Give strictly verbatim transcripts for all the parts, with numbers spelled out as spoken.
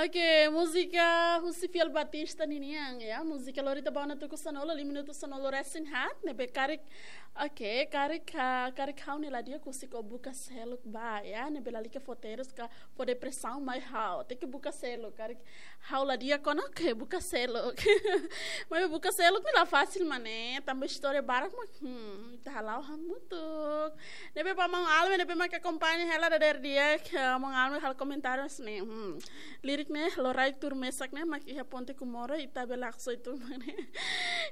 Oke, múzika husi Fiel Batista ninian, ya. Múzika lori ita ba ona tuku sanulu, lima minutu sanulu resin haat, ne'ebé karik, oke, karik, ah, karik ha'u ne'e la di'ak husik ó buka seluk ba, ya. Ne'ebé lalika fó terus ka fó depresaun mai ha'u. Tenke buka seluk, karik ha'u la di'ak ona, oke, buka seluk. Maibé buka seluk ne'e la fasil mak ne'e, tanba istória barak mak, hmm, ita hala'o hamutuk. Ne'ebé ba maun Alme, ne'ebé mak akompaña hela dadeer di'ak, eh, maun Alme halo komentáriu hanesan ne'e. Hmm. Lirik ne'e, loraik tuur mesak ne'e, mak iha Ponte Comoro, ita bele haksoit tun mak ne'e.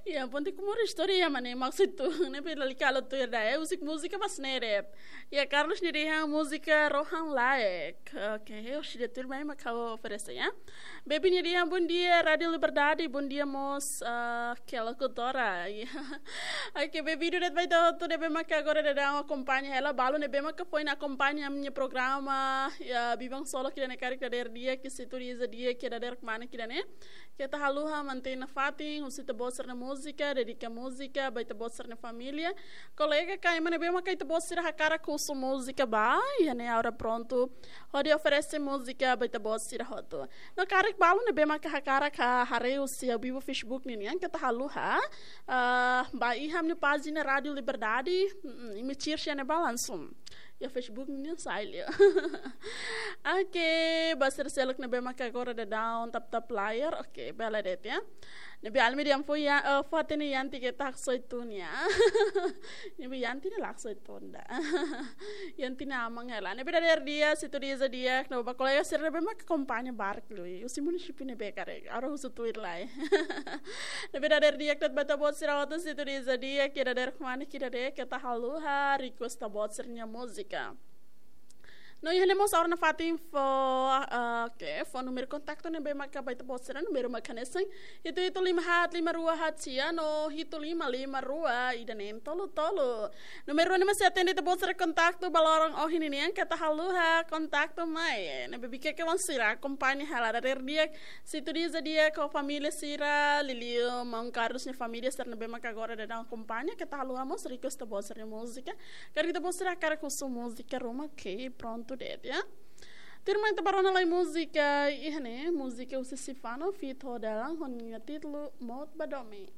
Iha Ponte Comoro istória mak ne'e, mak haksoit tun. Ne'ebé lalika halo tuir ida, eh, husik múzika mas ne'e de'it. Ya, Carlos nia dehan múzika rohan laek. Oke, oxi de tuir mai mak ha'u oferese, ya. Baby nia dehan bom dia, Rádio Liberdade, bom dia mós, ah, ke lokutora. Ya. Oke, Baby, duret ba ita hotu ne'ebé maka agora daudaun akompaña hela, balu ne'ebé maka foin akompaña ami-nia programa, ya, Biban Solo ida-ne'e karik dadeer di'ak, ke sintoniza di'ak, ke dadeer kmanek ida-ne'e. Keta haluha mantein nafatin, husu ita-boot sira-nia múzika, dedika múzika ba ita-boot sira-nia família. Kolega ka ema ne'ebé maka ita-boot sira hakarak husu múzika ba, iha ne'e ha'u prontu hodi oferese múzika ba ita-boot sira hotu. No karik balu ne'ebé maka hakarak haree husi ao vivo Facebook ninian, keta haluha, ah, ba iha ami-nia pájina Rádio Liberdade, mm, imi search iha ne'ebá langsung. Iha Facebook ninian sai liu. Oke, ba sira seluk ne'ebé maka agora daudaun tap-tap layar. Oke, bele de'it, ya. Ne'ebé Alme dehan fó, ya, eh, fó hatene Yanti keta haksoit tun, ya. Ne'ebé Yanti ne'e la haksoit tun ida. Yanti ne'e aman hela. Ne'ebé dadeer di'ak, sintoniza di'ak, no ba kolega sira ne'ebé maka akompaña barak liu. Husi munisípiu ne'ebé karik, ha'u husu tuir lai. Ne'ebé dadeer di'ak de'it ba ita-boot sira hotu, sintoniza di'ak, ke dadeer kmanek ida-ne'e, keta haluha request ita-boot sira-nia múzika. No iha ne'e mós ha'u nafatin fó, ah, oke, fó númeru kontaktu ne'ebé maka ba ita-boot sira, númeru mak hanesan hitu hitu lima haat lima rua haat sia no hitu lima lima rua ida neen tolu tolu. Númeru ne'e mak sei atende ita-boot sira kontaktu ba loron ohin ninian, keta haluha kontaktu mai. Ne'ebé Bikeke wan sira akompaña hela dadeer di'ak, sintoniza di'ak ho família sira, liuliu maun Carlos nia família sira ne'ebé maka agora daudaun akompaña, keta haluha mós request ita-boot sira-nia múzika. Karik ita-boot sira hakarak husu múzika ruma, oke, prontu de'it, ya. Tuirmai ita bá rona lai múzika iha ne'e, múzika husi Sifano feat Ho Dalan ho nia títulu Mout ba Domin.